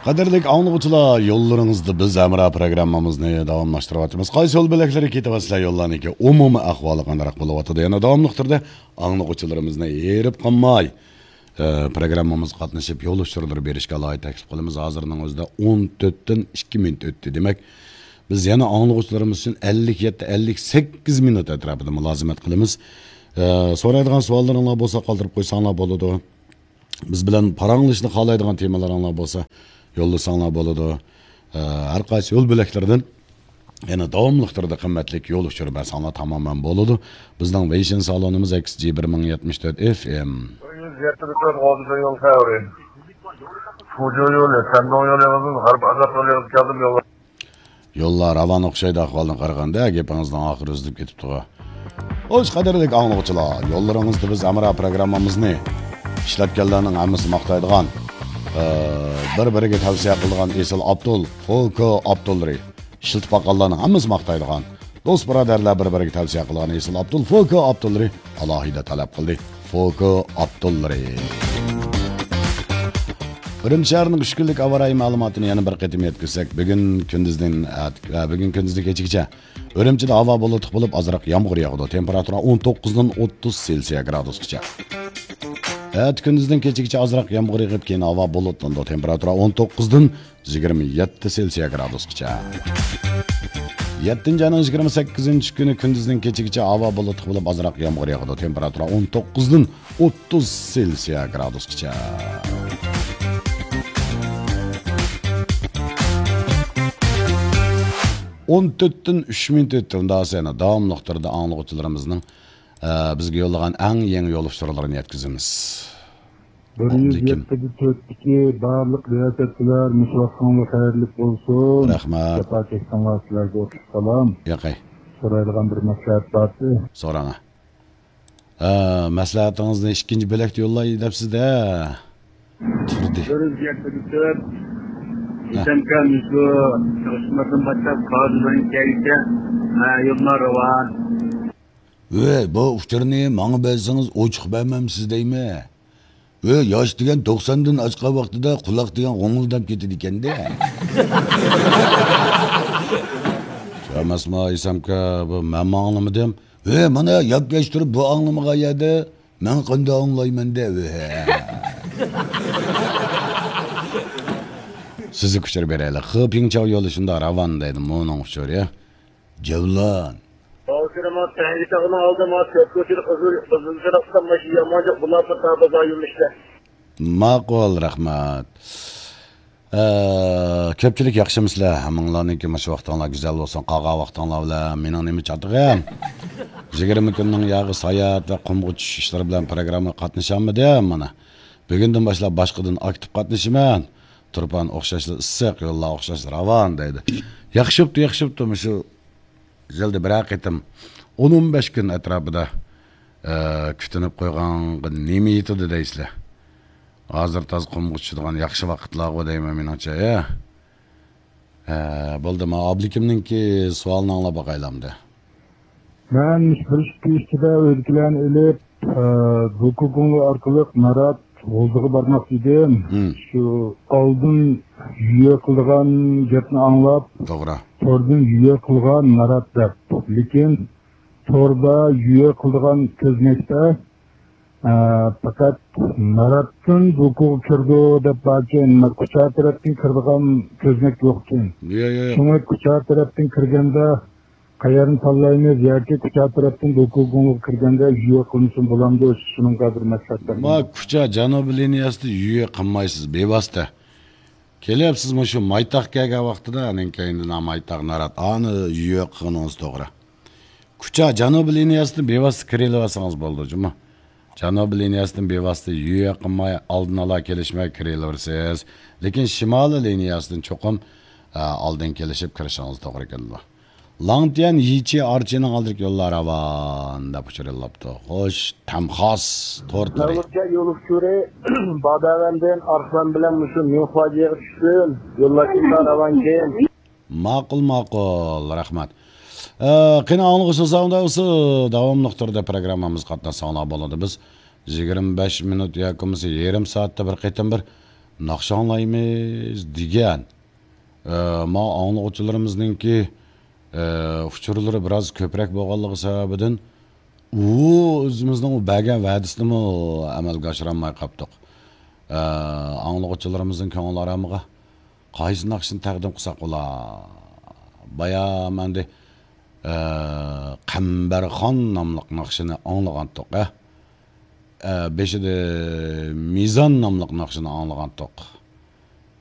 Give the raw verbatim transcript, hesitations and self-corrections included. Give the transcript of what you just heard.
قەدىرلىك ئاڭلىغۇچىلار، يوللىرىڭىزدا بىز ھەمراھ پروگراممىمىزنى داۋاملاشتۇرۇۋاتىمىز. قايسى يول بۆلەكلىرى كېتىۋاتىسىلەر، يوللارنىڭكى ئۇمۇمىي ئەھۋالى قانداق بولۇۋاتىدۇ؟ يەنە داۋاملىق تۈردە ئاڭلىغۇچىلىرىمىزنى ھېرىپ قالماي، ئە، پروگراممىمىزغا قاتنىشىپ، يول ئۇچۇرلىرى بېرىشكە ئالاھىدە تەكلىپ قىلىمىز. ھازىرنىڭ ئۆزىدە ئون تۆتتىن ئىككى مىنۇت ئۆتتى. دېمەك، بىز يەنە ئاڭلىغۇچىلىرىمىز ئۈچۈن ئەللىك يەتتە، ئەللىك سەككىز مىنۇت ئەتراپىدا مۇلازىمەت قىلىمىز. ئە، سورايدىغان سوئاللىرىڭلار بولسا قالدۇرۇپ قويساڭلار بولىدۇ. بىز بىلەن پاراڭلىشىشنى خالايدىغان تېمىلىرىڭلار بولسا يوللىساڭلار بولىدۇ. ئە، ھەر قايسى يول بۆلەكلىرىدىن يەنە داۋاملىق تۈردە قىممەتلىك يول ئۇچۇرى بەرسەڭلار تامامەن بولىدۇ. بىزنىڭ ۋېيشىن سالونىمىز ئەكس جى بىر مىڭ يەتمىش تۆت ئېف ئېم. بىر يۈز يەتتە تۆت غوزىدا يول خەۋىرى. فۇجۇ يولى، سەندۇڭ يولى، غەرب ئازاد يولى كەلدىم يول. يوللار راۋان ئوخشايدۇ ئەھۋالدىن قارىغاندا، گېپىڭىزنىڭ ئاخىرى ئۈزۈلۈپ كېتىپتىغۇ. خوش، قەدىرلىك ئاڭلىغۇچىلار، يوللىرىڭىزدا بىز ھەمراھ پروگراممىمىزنى ئىشلەتكەنلەرنىڭ ھەممىسى ماختايدىغان، ئە، بىر-بىرىگە تەۋسىيە قىلىدىغان ئېسىل ئابدۇل، فوكو ئابدۇللىرى، ئىشلىتىپ باققانلارنىڭ ھەممىسى ماختايدىغان، دوست بۇرادەرلەر بىر-بىرىگە تەۋسىيە قىلىدىغان ئېسىل ئابدۇل، فوكو ئابدۇللىرى ئالاھىدە تەلەپ قىلدى. فوكو ئابدۇللىرى. ئۈرۈمچى شەھىرىنىڭ ئۈچ كۈنلۈك ھاۋا رايى مەلۇماتىنى يەنە بىر قېتىم يەتكۈزسەك، بۈگۈن كۈندۈزدىن، ئە، بۈگۈن كۈندۈزدىن كېچىگىچە ئۈرۈمچىدە ھاۋا بۇلۇتلۇق بولۇپ، ئازراق يامغۇر ياغىدۇ. تېمپېراتۇرا ئون توققۇزدىن ئوتتۇز سېلسىيە گرادۇسقىچە. ئەتە كۈندۈزدىن كېچىگىچە ئازراق يامغۇر يېغىپ، كېيىن ھاۋا بۇلۇتلىنىدۇ. تېمپېراتۇرا ئون توققۇزدىن يىگىرمە يەتتە سېلسىيە گرادۇسقىچە. يەتتىنچى ئاينىڭ يىگىرمە سەككىزىنچى كۈنى كۈندۈزدىن كېچىگىچە ھاۋا بۇلۇتلۇق بولۇپ، ئازراق يامغۇر ياغىدۇ. تېمپېراتۇرا ئون توققۇزدىن ئوتتۇز سېلسىيە گرادۇسقىچە. ئون تۆتتىن ئۈچ مىنۇت ئۆتتى. ئۇنداق بولسا يەنە داۋاملىق تۈردە ئاڭلىغۇچىلىرىمىزنىڭ، ئە، بىزگە يوللىغان ئەڭ يېڭى يول ئۇچۇرلىرىنى يەتكۈزىمىز. بىر يۈز يەتتە تۆتتىكى بارلىق رىياسەتچىلەر، مۇشۇ ۋاقتىڭلار خەيرلىك بولسۇن. رەھمەت. جاپاكەشلىرىڭلار، سىلەرگە ئوتلۇق سالام. ياقەي. سورايدىغان بىر مەسلىھەت بارتى. سوراڭا. ھە، مەسلىھەتىڭىزنى ئىككىنچى بۆلەكتە يوللاي دەپسىز-دە. تۇردى. بىر يۈز يەتتە تۆت. ھە. ئىسەمكەن، مۇشۇ چاقچىمازدىن باشلاپ قازىدىن كەلگىچە، ھە، يوللار راۋان. ۋەي، بۇ ئۇچۇرنى ماڭا بەرسىڭىز ئوچۇق بەرمەمسىز دەيمەن. ۋەي، ياش دېگەن توقساندىن ئاشقان ۋاقتىدا قۇلاق دېگەن غوڭۇلداپ كېتىدىكەن-دە. شۇ ئەمەسمۇ ئېسەمكە، بۇ مەنمۇ ئاڭلىمىدىم. ۋەي، مانا ياكى ياش تۇرۇپ بۇ ئاڭلىمىغان يەردە مەن قانداق ئاڭلايمەن-دە، ۋەي. سىزگە ئۇچۇر بېرەيلى. خې پىڭچاۋ يولى شۇنداق راۋان دەيدۇ، مۇنىڭ ئۇچۇرى. جەۋلان. ھازىر ما تەڭگە تاغنىڭ ئالدى ما چۆپ كوچىدا قىزىل، قىزىل چىراغ تۇتقان ماشىنا يامانجاق بۇلار بىر تاغ بازار يۆنىلىشتە. ماقۇل، رەھمەت. ئە، كۆپچىلىك ياخشىمۇسىلەر؟ ھەممىڭلارنىڭكى مۇشۇ ۋاقتىڭلار گۈزەل بولسۇن. قالغان ۋاقتىڭلار بىلەن مېنىڭ نېمە چاتىقىم؟ يىگىرمە كۈننىڭ ياغى ساياھەت ۋە قۇمغا چۈشۈش ئىشلىرى بىلەن پروگراممىغا قاتنىشالمىدىم مانا. بۈگۈندىن باشلاپ باشقىدىن ئاكتىپ قاتنىشىمەن. تۇرپان ئوخشاشلا ئىسسىق، يوللار ئوخشاشلا راۋان دەيدۇ. ياخشى بوپتۇ، ياخشى بوپتۇ. مۇشۇ يىلدا بىرەر قېتىم ئون، ئون بەش كۈن ئەتراپىدا، ئە، كۈتۈنۈپ قويغانغا نېمە يېتىدۇ دەيسىلەر؟ ھازىر تازا قۇمغا چۈشىدىغان ياخشى ۋاقىتلارغۇ دەيمەن مېنىڭچە، ھە؟ ھە، بولدى، ما ئابلىكىمنىڭكى سوئالىنى ئاڭلاپ باقايلى ئەمدى. مەن بىر ئىككى كۈن ئىچىدە ئۆيدىكىلەرنى ئېلىپ، ئە، دوكۇگۇڭلى ئارقىلىق نارات غوزىغا بارماقچى ئىدىم. ھىم. شۇ ئالدىن يۈيە قىلىدىغان گەپنى ئاڭلاپ، توغرا. توردىن يۈيە قىلغان نارات دەپ. لېكىن توردا يۈيە قىلىدىغان كۆزنەكتە، ئە، پەقەت ناراتتىن دوكۇغا كىرىدۇ دەپ باركەن. كۇچا تەرەپتىن كىرىدىغان كۆزنەك يوقكەن. يا، يا، يا. شۇڭا كۇچا تەرەپتىن كىرگەندە قەيەرنى تاللايمىز ياكى كۇچا تەرەپتىن دوكۇگۇڭغا كىرگەندە يۈيە قىلمىسۇن بولامدۇ؟ شۇنىڭغا بىر مەسلىھەت بەرگىن. ما كۇچا جەنۇبىي لىنىيەسىدە يۈيە قىلمايسىز، بىۋاسىتە. كېلىپ سىز مۇشۇ مايتاغ كەلگەن ۋاقتىدا، ئانىڭ كەينىدىن مايتاغ نارات، ئانى يۈيە قىلغىنىڭىز توغرا. كۇچا جەنۇبىي لىنىيەسىدىن بىۋاسىتە كىرىۋالسىڭىز بولىدۇ جۇمۇ. جەنۇبىي لىنىيەسىدىن بىۋاسىتە يۈيە قىلماي، ئالدىن ئالا كېلىشمەي كىرىۋېرىسىز. لېكىن شىمالىي لىنىيەسىدىن چوقۇم، ئە، ئالدىن كېلىشىپ كىرىشىڭىز توغرا كېلىدۇ. لاڭتيەن يىچى ئارچىنىڭ ئالدىدىكى يوللار راۋان دەپ ئۇچۇر يوللاپتۇ. خوش، تەمخاس تورتلىرى. نۆۋەتتە يول ئۇچۇرى باداۋەندىن ئارسلان بىلەن مۇشۇ مىڭخۇاجيېغا چۈشسۇن. يوللار شۇنداق راۋانكەن. ماقۇل، ماقۇل، رەھمەت. ئە، قېنى ئاڭلىغۇچى ساڭدا بولسا داۋاملىق تۈردە پروگراممىمىزغا قاتناشساڭلار بولىدۇ. بىز يىگىرمە بەش مىنۇت ياكى بولمىسا يېرىم سائەتتە بىر قېتىم بىر ناخشا ئاڭلايمىز دېگەن. ئە، ما ئاڭلىغۇچىلىرىمىزنىڭكى، ئە، ئۇچۇرلىرى بىراز كۆپرەك بولغانلىقى سەۋەبىدىن، ئۇ ئۆزىمىزنىڭ ئۇ بەرگەن ۋەدىسىنىمۇ ئەمەلگە ئاشۇرالماي قاپتۇق. ئە، ئاڭلىغۇچىلىرىمىزنىڭ كۆڭۈل ئارامىغا قايسى ناخشىنى تەقدىم قىلساق بولا؟ بايام ئەمدى، ئە، قەمبەرخان ناملىق ناخشىنى ئاڭلىغانتۇق، ئە. ئە، بېشىدا مىزان ناملىق ناخشىنى ئاڭلىغانتۇق.